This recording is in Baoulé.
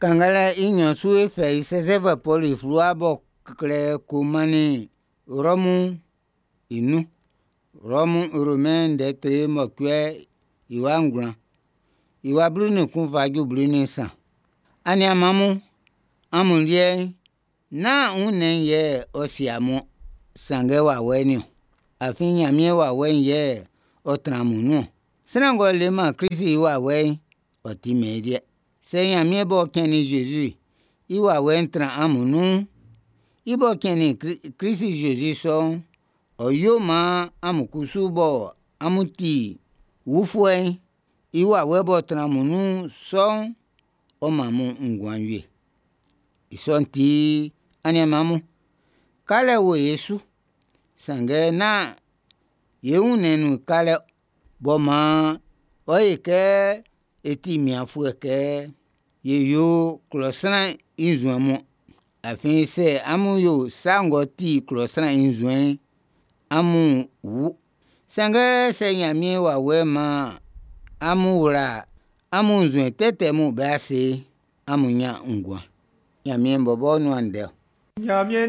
Kannganlɛ i nnyɔn su e fɛ i sɛsɛfuɛ Pɔlu i fluwa b'ɔ klɛ ko mannin Rɔmu'n i nun. Rɔmu Romain ndɛ tre mɔcuɛ i wa 9, i wa 11 fa ju 13. Aniaan mun, amun liɛ'n, nán wunnɛn'n yɛ ɔ sie amun-ɔn, sanngɛ wawɛ'n niɔn. Afin Ɲanmiɛn wawɛ'n yɛ ɔ tran amun nun-ɔn. Sran ng'ɔ leman Klist i wawɛ'n, ɔ timɛn i liɛ. Sɛ Ɲanmiɛn b'ɔ cɛnnin Zezi'n i wawɛ'n tran amun nun'n, i b'ɔ cɛnnin Klist Zezi sɔ'n, ɔ́ yó maan amun kusu bɔ amun ti wufuɛ'n, i wawɛ b'ɔ tran amun nun sɔ'n, ɔ́ mán amun nguan wie. I sɔ'n ti, aniaan mun, kalɛ wo e su. Sanngɛ nán ye wunnɛn'n nun kalɛ b'ɔ maan ɔ yo ye kɛ e ti mianfuɛ kɛ e yo klɔ sran i nzuɛn mun. Afin sɛ amun yo sa ng'ɔ ti klɔ sran i nzuɛn'n, amún wú. Sanngɛ sɛ Ɲanmiɛn wawɛ'n maan amun wla amun nzuɛn tɛtɛ mun be ase'n, amún ɲán nguan. Ɲanmiɛn bɔbɔ nuan ndɛ ɔ. Ɲanmiɛn